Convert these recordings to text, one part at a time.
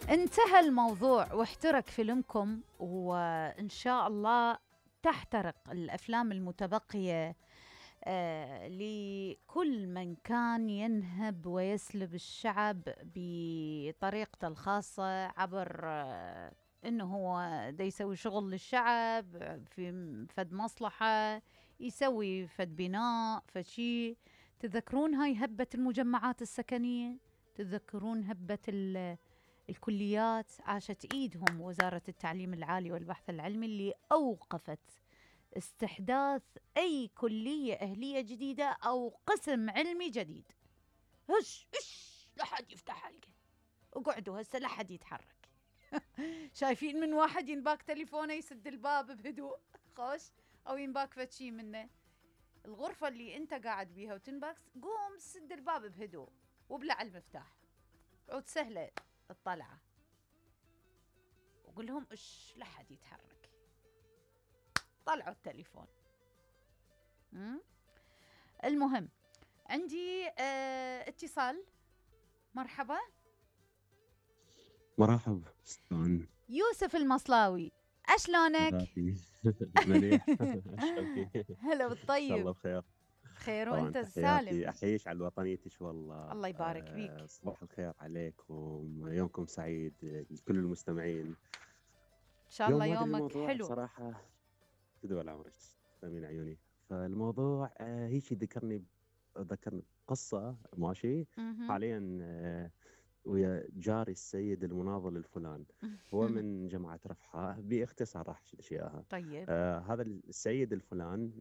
انتهى الموضوع واحترق فيلمكم، وإن شاء الله تحترق الأفلام المتبقية لكل من كان ينهب ويسلب الشعب بطريقته الخاصة عبر إنه هو دا يسوي شغل للشعب في فد مصلحة، يسوي فد بناء فشي. تذكرون هاي هبة المجمعات السكنية؟ تذكرون هبة الكليات؟ عاشت إيدهم وزارة التعليم العالي والبحث العلمي اللي أوقفت استحداث أي كلية أهلية جديدة أو قسم علمي جديد. هش لا حد يفتح حلقة، وقعدوا هسه لا حد يتحرك. شايفين من واحد ينباك تليفونه يسد الباب بهدوء خوش، أو ينباك فتشي منه الغرفة اللي أنت قاعد بيها وتنباك، قوم سد الباب بهدوء وبلع المفتاح، عود سهلة الطلعة، وقول لهم لا حد يتحرك. طلعوا التليفون. المهم عندي اتصال. مرحبا. مرحب استاذ يوسف المصلاوي، اشلونك؟ مليح. اشرفي. هلا بالطيب. الله بخير. خير طبعا وانت تحياتي، سالم. احييش على وطنيتش والله. الله يبارك بيك. صباح الخير عليكم، يومكم سعيد لكل المستمعين. ان شاء الله اليوم هذا يومك الموضوع حلو. بصراحة تدول عمرك تسلمين عيوني. فالموضوع هيك ذكرني قصة ماشي حاليا ويا جاري السيد المناضل الفلان. هو من جماعة رفحاء، باختصار راح أحكي إياها. طيب. هذا السيد الفلان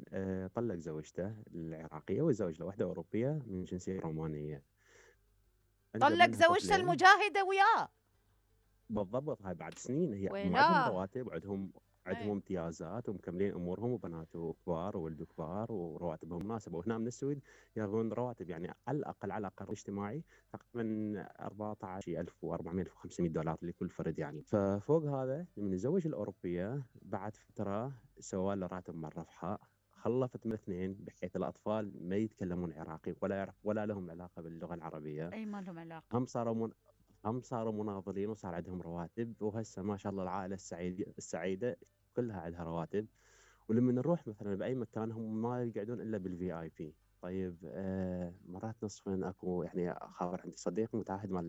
طلق زوجته العراقية وزوج له واحدة أوروبية من جنسية رومانية. طلق زوجته المجاهدة وياه. بالضبط، هاي بعد سنين. هي عندهم رواتب وعندهم امتيازات ومكملين امورهم، وبناته كبار وولدوا كبار ورواتبهم مناسبه. وهنا من السويد ياخذون رواتب يعني على الاقل اجتماعي تقريبا 14,400 $1500 لكل فرد يعني. ففوق هذا من الزوج الاوروبيه بعد فتره سوى له راتب مع الرفحاء، خلفت من اثنين بحيث الاطفال ما يتكلمون عراقي ولا لهم علاقه باللغه العربيه. اي ما لهم علاقه. هم صاروا مناضلين وصار عندهم رواتب، وهسه ما شاء الله العائله السعيده كلها عندها رواتب. ولما نروح مثلا باي مكان هم ما يقعدون الا بالفي اي بي. طيب مرات نصفا اكو يعني خابر عندي صديق متعهد مع